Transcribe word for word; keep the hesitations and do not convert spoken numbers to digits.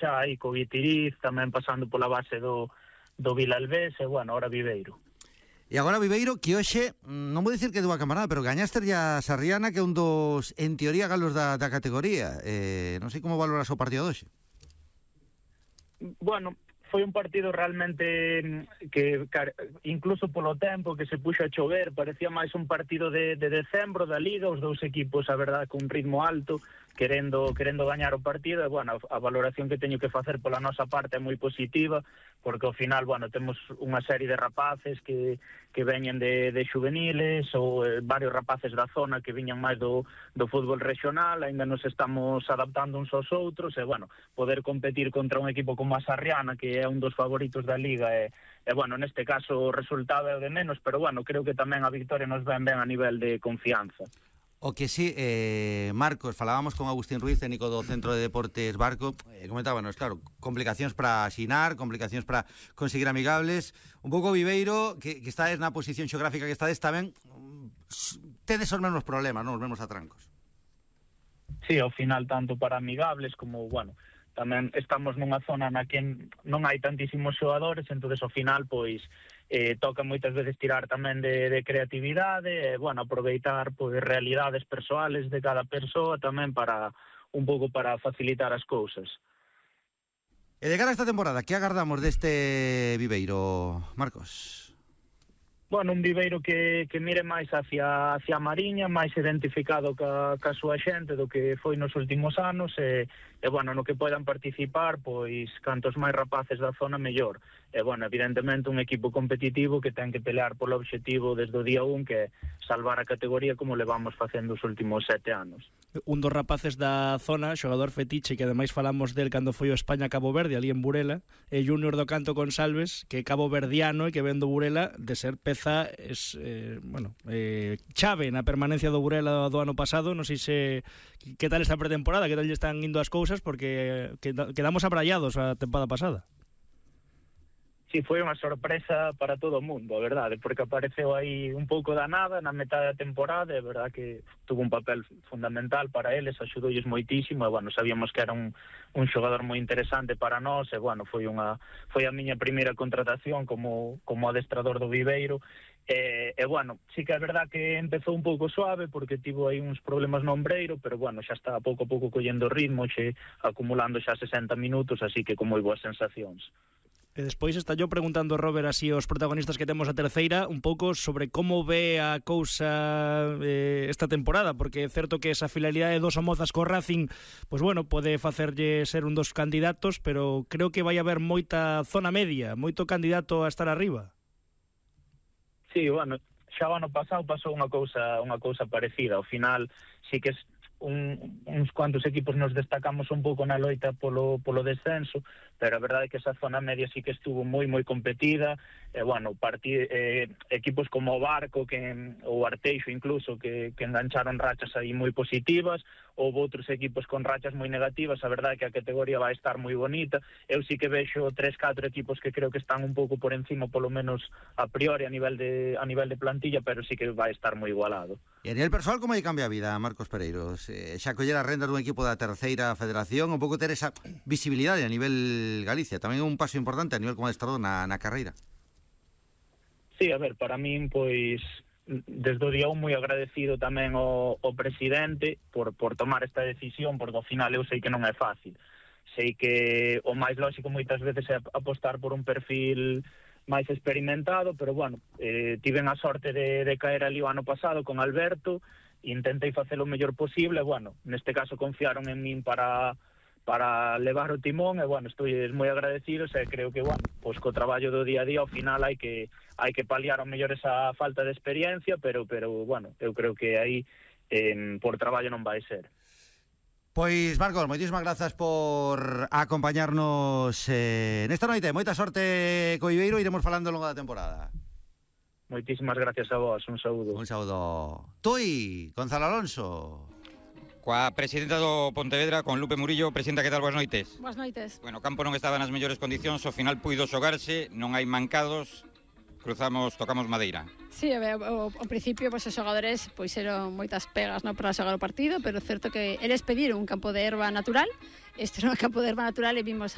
xa aí co Guitiriz, tamén pasando pola base do, do Vilalbés, e, bueno, ahora Viveiro. E agora Viveiro, que hoxe, non vou dicir que é dunha camarada, pero gañaste a Sarriana, que é un dos, en teoría, galos da, da categoría. Eh, non sei como valoras o partido de hoxe. Bueno, foi un partido realmente que, incluso polo tempo que se puxo a chover, parecía máis un partido de, de decembro da Liga, os dous equipos, a verdade, con un ritmo alto, querendo querendo gañar o partido, e, bueno, a, a valoración que teño que facer pola nosa parte é moi positiva, porque ao final, bueno, temos unha serie de rapaces que, que veñen de, de juveniles, ou eh, varios rapaces da zona que viñan máis do, do fútbol regional, ainda nos estamos adaptando uns aos outros, e, bueno, poder competir contra un equipo como a Sarriana, que é un dos favoritos da Liga, e, e bueno, neste caso o resultado é o de menos, pero, bueno, creo que tamén a victoria nos ven ben a nivel de confianza. O que sí, eh, Marcos, falábamos con Agustín Ruiz, técnico do Centro de Deportes Barco, eh, comentábanos, claro, complicacións para asinar, complicacións para conseguir amigables, un pouco Viveiro, que, que estades na posición xeográfica que estades tamén, tedes os mesmos problemas, non? Os mesmos atrancos. Sí, ao final, tanto para amigables como, bueno, tamén estamos nunha zona na que non hai tantísimos xogadores, entonces ao final, pois, eh, toca moitas veces tirar tamén de, de creatividade, e, bueno, aproveitar pois, realidades persoales de cada persoa tamén para, un pouco para facilitar as cousas. E de cara a esta temporada, que agardamos deste Viveiro, Marcos? Bueno, un Viveiro que, que mire máis hacia, hacia a Mariña, máis identificado ca, ca súa xente do que foi nos últimos anos, e, e, bueno, no que podan participar, pois, cantos máis rapaces da zona, mellor. E, bueno, evidentemente, un equipo competitivo que ten que pelear polo obxectivo desde o día un, que é salvar a categoría como levamos facendo os últimos sete anos. Un dos rapaces da zona, xogador fetiche, que ademais falamos del cando foi o España-Cabo Verde, ali en Burela, e Júnior do Canto Consalves, que é cabo verdiano e que ven do Burela, de ser peza es, eh, bueno, eh, chave na permanencia do Burela do ano pasado. Non sei se que tal esta pretemporada, que tal lle están indo as cousas, porque quedamos abrallados a temporada pasada. Sí, foi unha sorpresa para todo o mundo, a verdade, porque apareceu aí un pouco da nada na metade da temporada, e a verdade que tuvo un papel fundamental para eles, axudoulles moitísimo, e, bueno, sabíamos que era un, un xogador moi interesante para nós, e, bueno, foi unha foi a miña primeira contratación como, como adestrador do Viveiro, e, e, bueno, sí que é verdade que empezou un pouco suave, porque tivo aí uns problemas no ombreiro, pero, bueno, xa está pouco a pouco collendo ritmo, xe acumulando xa sesenta minutos, así que con moi boas sensacións. E despois está yo preguntando, Robert, así os protagonistas que temos a terceira, un pouco sobre como ve a cousa eh, esta temporada, porque é certo que esa fidelidade dos Somozas co Racing, pois bueno, pode facerlle ser un dos candidatos, pero creo que vai haber moita zona media, moito candidato a estar arriba. Sí, bueno, xa o ano pasado pasou unha cousa unha cousa parecida, ao final sí que un, uns cuantos equipos nos destacamos un pouco na loita polo, polo descenso, pero a verdade é que esa zona media sí que estuvo moi moi competida, e, bueno, partid, eh, equipos como o Barco, que o Arteixo incluso, que, que engancharon rachas aí moi positivas, ou outros equipos con rachas moi negativas. A verdade é que a categoría vai estar moi bonita. Eu sí que vexo tres, catro equipos que creo que están un pouco por encima, polo menos a priori a nivel de a nivel de plantilla, pero sí que vai estar moi igualado. E a nivel persoal, como aí cambia a vida, Marcos Pereiros? Eh, xa coller a renda dun equipo da terceira federación, un pouco ter esa visibilidade a nivel Galicia, tamén é un paso importante a nivel como adestrador na, na carreira. Sí, a ver, para min, pois, desde o día un moi agradecido tamén ao, ao presidente por, por tomar esta decisión, porque ao final eu sei que non é fácil. Sei que o máis lógico moitas veces é apostar por un perfil máis experimentado, pero, bueno, eh, tiven a sorte de, de caer ali o ano pasado con Alberto, intentei facer o mellor posible, bueno, neste caso confiaron en min para... para levar o timón, e, bueno, estou moi agradecido, e creo que, bueno, pois co traballo do día a día ao final hai que hai que paliar ao mellor esa falta de experiencia, pero pero bueno, eu creo que aí eh, por traballo non vai ser. Pois, Marcos, moitísimas grazas por acompañarnos eh, nesta noite. Moita sorte co Viveiro, iremos falando ao longo da temporada. Moitísimas gracias a vos, un saúdo. Un saúdo. Tui, Gonzalo Alonso. Coa presidenta do Pontevedra, con Lupe Murillo. Presidenta, que tal? Boas noites. Boas noites. Bueno, o campo non estaba nas mellores condicións, ao final puido xogarse, non hai mancados, cruzamos, tocamos madeira. Sí, ao, ao principio pois, os xogadores pois, eran moitas pegas, no, para xogar o partido, pero é certo que eles pediron un campo de erva natural, este era un campo de erva natural, e vimos